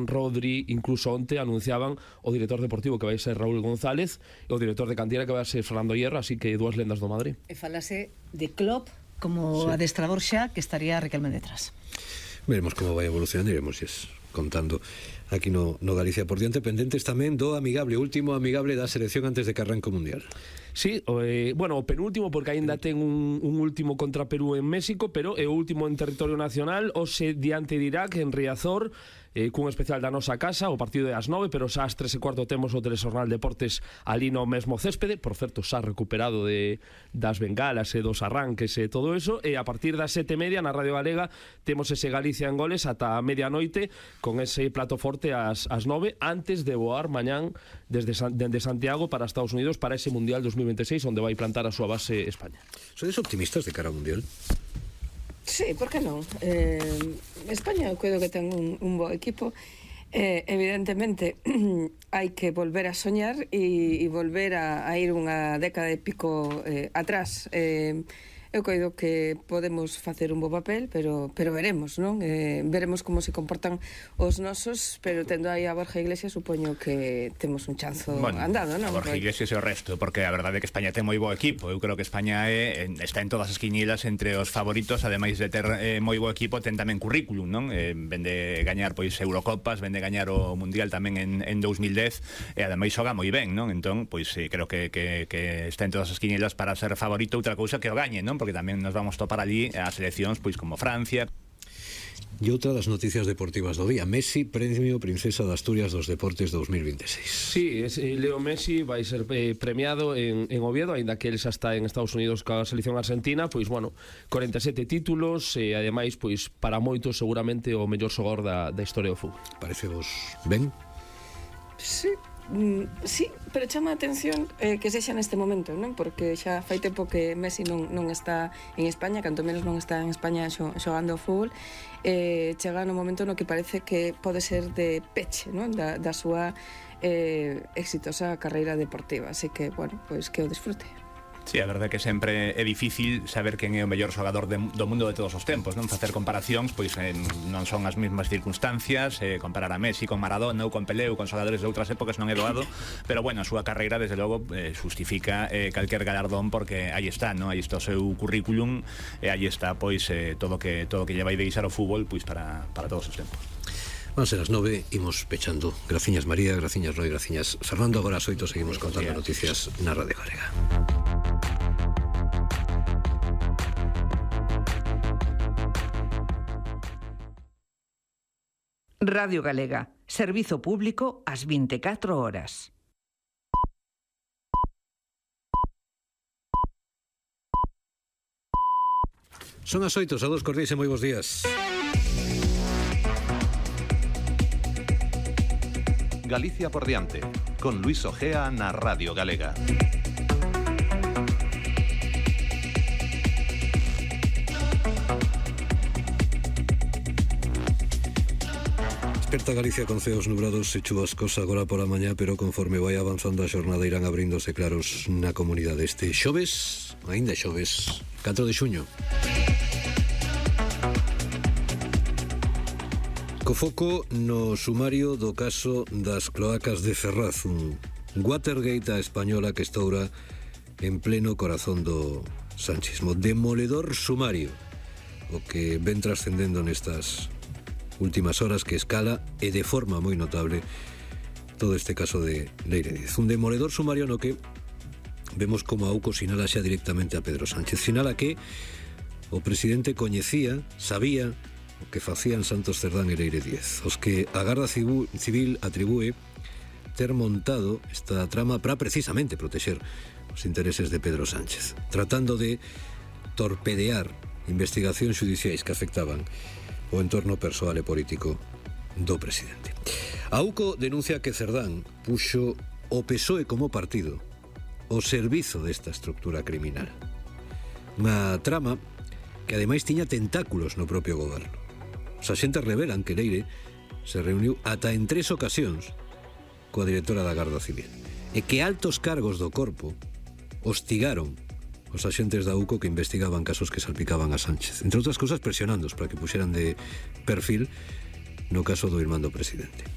Rodri, incluso onte anunciaban o director deportivo que vai ser Raúl González e o director de cantera que vai ser Fernando Hierro, así que dúas lendas do Madrid. E falase de Klopp como adestrador xa, que estaría Riquelme detrás. Veremos como vai evolucionando, iremos contando aquí no Galicia por diante, pendentes tamén do amigable, último amigable da selección antes de que arranque o Mundial. Sí, bueno, o penúltimo, porque aínda ten un último contra Perú en México, pero é o último en territorio nacional, hoxe diante de Irak en Riazor, cun especial da nosa casa. O partido é ás 9, pero xa ás 3:15 temos o Telexornal Deportes ali no mesmo céspede, por certo xa recuperado das bengalas e dos arranques e todo eso, e a partir das 7:30 na Radio Galega temos ese Galicia en goles ata a medianoite, con ese plato forte ás 9, antes de voar mañán dende Santiago para Estados Unidos para ese Mundial 2026, onde vai plantar a súa base España. Sodes optimistas de cara ao Mundial? Sí, por que non? España, eu creo que ten un bo equipo. Evidentemente hai que volver a soñar e volver a ir unha década e pico atrás. Eu coido que podemos facer un bo papel, pero veremos, non? Veremos como se comportan os nosos, pero tendo aí a Borja Iglesias supoño que temos un chanzo andado, non? A Borja Iglesias e o resto, porque a verdade é que España ten moi bo equipo. Eu creo que España está en todas as quinielas entre os favoritos, ademais de ter moi bo equipo, ten tamén currículum, non? Ven de gañar pois Eurocopas, ven de gañar o Mundial tamén en 2010, e ademais xoga moi ben, non? Entón, pois creo que está en todas as quinielas para ser favorito. Outra cousa que o gañe, non? Porque tamén nos vamos topar allí as seleccións pois como Francia. E outra das noticias deportivas do día: Messi, premio Princesa de Asturias dos Deportes 2026. Sí, Leo Messi vai ser premiado en Oviedo, aínda que ele xa está en Estados Unidos coa selección argentina. Pois, bueno, 47 títulos e, ademais, pois, para moitos seguramente o mellor xogador da historia do fútbol. Parece vos ben? Sí, pero chama a atención que sexa neste momento, non? Porque xa fai tempo que Messi non está en España, canto menos non está en España xogando ao fútbol. Chega no momento no que parece que pode ser de peche, non? Da súa exitosa carreira deportiva. Así que, bueno, pois que o disfrute. Sí, a verdade é que sempre é difícil saber quen é o mellor xogador do mundo de todos os tempos, non? Facer comparacións, pois non son as mesmas circunstancias, comparar a Messi con Maradona ou con Pelé ou con xogadores de outras épocas non é doado, pero bueno, a súa carreira desde logo justifica calquer galardón, porque aí está, non? Aí está o seu currículum e aí está pois todo que lle vai deixar o fútbol pois para todos os tempos. Van ser as 9, imos pechando. Graciñas María, graciñas Roy, graciñas Fernando. Agora ás 8 seguimos contando noticias na Radio Galega. Radio Galega, servizo público ás 24 horas. Son as 8, saúdos cordiais e moi bons días. Galicia por diante, con Luis Ojea na Radio Galega. Desperta Galicia con ceos nublados e chubascos agora pola mañá, pero conforme vai avanzando a xornada irán abríndose claros na comunidade. Este xoves, aínda xoves, 4 de xuño. Co foco no sumario do caso das cloacas de Ferraz, un Watergate a española que estoura en pleno corazón do sanchismo. Demoledor sumario o que ven trascendendo nestas últimas horas, que escala e de forma moi notable todo este caso de Leire Díez. Un demoledor sumario no que vemos como a UCO sinala xa directamente a Pedro Sánchez. Sinala que o presidente coñecía, sabía o que facían Santos Cerdán e Leire Díez, os que a Garda Civil atribúe ter montado esta trama para precisamente protexer os intereses de Pedro Sánchez, tratando de torpedear investigacións xudiciais que afectaban o entorno persoal e político do presidente. A UCO denuncia que Cerdán puxo o PSOE como partido ao servizo desta estructura criminal. Unha trama que ademais tiña tentáculos no propio goberno. Os axentes revelan que Leire se reuniu ata en 3 ocasións coa directora da Garda Civil e que altos cargos do corpo hostigaron os axentes da UCO que investigaban casos que salpicaban a Sánchez, entre outras cousas presionándoos para que puxeran de perfil no caso do irmán do presidente.